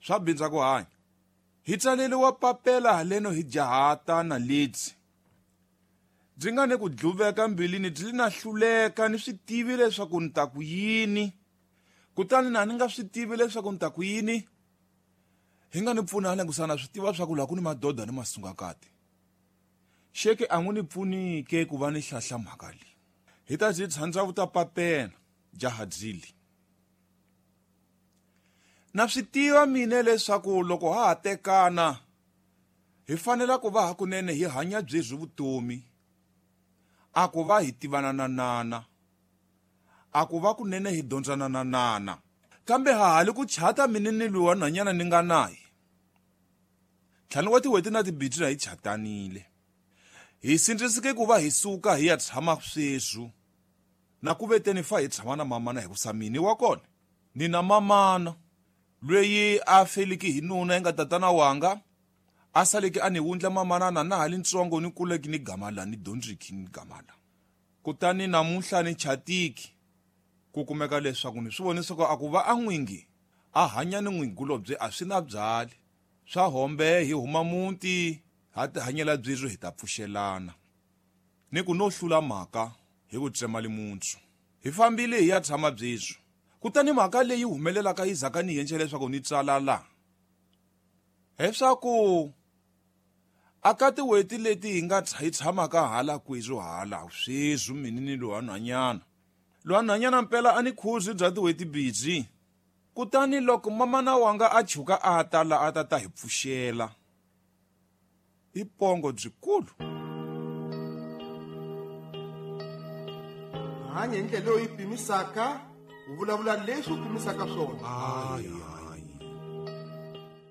Swa bindza ku hanya. Hi tsaleliwa papela haleno hi jahata na lidzi. Byi nga ni ku dluveka mbilwini byi li na hluleka ni swi tivi leswaku ni ta ku yini. Kutani na ni nga swi tivi leswaku ni ta ku yini. Hi nga ni pfuna hala kusana swi tiva swa ku laha ku ni madoda ni masungakati. Xeke a n'wi ni pfuni ke ku va ni hlahla mhaka leyi. Hi ta byi tshandza vuta papela jaha byili. Na swi tiva mine leswaku loko ha ha tekana hi fanela ku va hakunene hi hanya byebyi vutomi. A ku va hi tivana na nana. A ku va kunene hi dyondzana na nana. Kambe ha ha li ku chata mine ni loyi wa nhwanyana ni nga naye. Ntlhanu wa tin'hweti na tibitsi hi chatanile. Hi sindziseke ku va hi suka hi ya tshama sweswi. Na ku veteni fa hi tshama na mamana hikusa mine wa kona ni na mamana lweyi a feliki hi nuna yi nga tatana wanga a saleke a ni wundla mamana na na ha li ntsongo ni kuleki ni gama la ni dyondziki ni gama la. Kutani namuntlha ni chatiki ku kumeka leswaku ni swi vone swa ku a ku va a n'wingi a hanya ni n'wingulobye a swi na byali swa hombe hi huma muti ha tihanyela byebyo hi ta pfuxelana. Ni ku no hlula mhaka hi ku tsema limuntsu. Hi fambile hi ya tshama byebyo. Kutani mhaka leyi humelelaka yi zaka ni yenxe leswaku ni tsala la. Leswaku aka tin'hweti leti hi nga hi tshamaka hala kwezwo hala sweswi mini ni lowa nhwanyana. Lowa nhwanyana mpela a ni khuzi bya tin'hweti bidzi. Kutani loko mamana wanga a chuka a ta la a ta ta hi pfuxela. I pongo byikulu. Hanya hi ndlela leyi pimisaka, u vulavula leswi u pimisaka swona.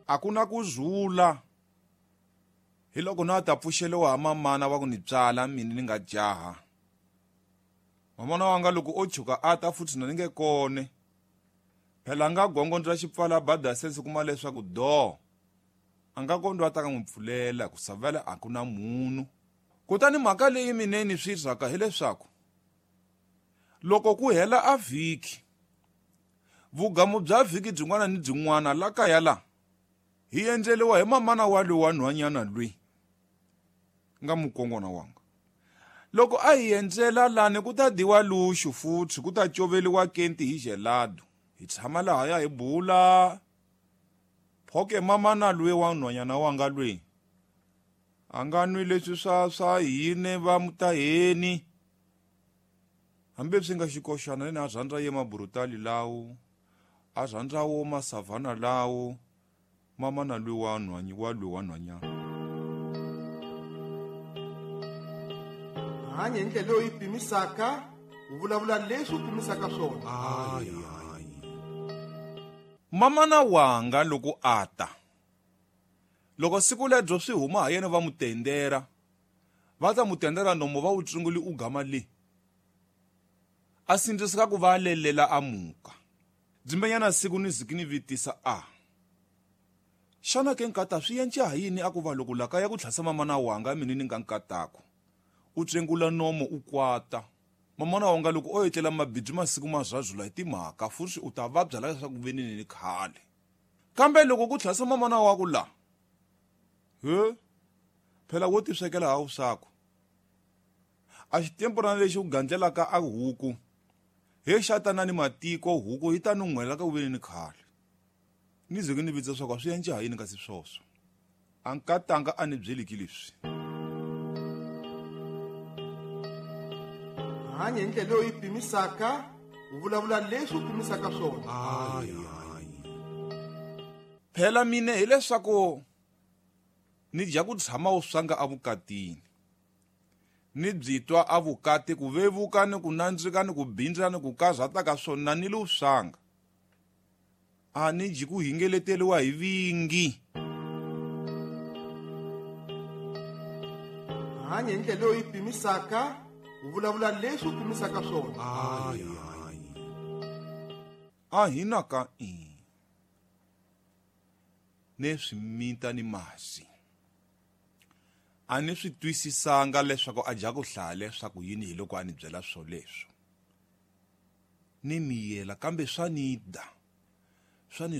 A ku na ku zula. Hi loko na ta pfuxeliwa ha mamana wa ku ni tswala mina ni nga jaha. Mamana wanga loko o chuka a ta futhi na ni nge kone. Phela nga gongondza xipfala bada sense kuma leswaku do. A nga kondwa a ta ka n'wi pfulela ku savela a ku na munhu. Kutani mhaka leyi mina ni swi rhaka hileswaku loko ku hela a vhiki, vugamu bya vhiki byin'wana ni byin'wana la kaya la hi endleliwa hi mamana wa loyi wa nhwanyana loyi nga mukongwana wanga. Loko a hi endzela lani ku ta dyiwa luxu futhi ku ta coveliwa kenti hi gelado. Hi tshama lahaya hi bula. Phoke mamana loyi wa nhwanyana wanga loyi a nga nwi leswi swa hine va mutaheni. Hambi swi nga xikoxana ni a rhandza ye mabrutali lawo, a rhandza wo masavana lawo, mamana loyi wa nhwanyi wa loyi wa nhwanyana. Hanya hi ndlela leyi pimisaka, u vulavula leswi u pimisaka swona. Mamana wanga loko a ta. Loko siku lebyo swi huma ha yena va mutendera. Va ta mutendera nomo va wu tsunguli u gama le. A sindziseka ku va lelela a muka. Dzimbenyana siku ni ziki ni vitisa a. Xana ke nkata swi yenca ha yini a ku va loko laka ya ku tlhasa mamana wanga mina ni nga nkatako. U tsengula nomo u kwata. Mamana wanga loko o etlela mabidzi masiku mazazula hi timhaka futhi u ta vabya la leswaku venini ni khale. Kambe loko ku tlhasa mamana wa ku la. He? Phela wo tiswekela ha usako. A xitemporana lexi u gandlelaka a huku. He xatana ni matiko huku yi ta nun'hwela ka ku veni ni khale. Ni ze ni vitsa swa ku swi endla ha yini kasi swoswo. A nkatanga a ni byeliki leswi. Hanya hi ndlela leyi pimisaka, u vulavula leswi u pimisaka swona. Phela mine hileswaku ni dya ku tshama u swanga evukatini. Ni byi twa evukati ku vevuka ni ku nandzika ni ku bindza ni ku karhata ka swona ni lu swanga. A ni dyi ku hingeleteriwa hi vingi. Hanya hi ndlela leyi pimisaka, u vulavula leswi u pimisaka swona. A hi na ka i. Ne swi mita ni masi. A ni swi twisisanga leswaku a dya ku hlaya leswaku yini hi loko a ni byela swoleswo. Ni miyela kambe swa ni da. Swa ni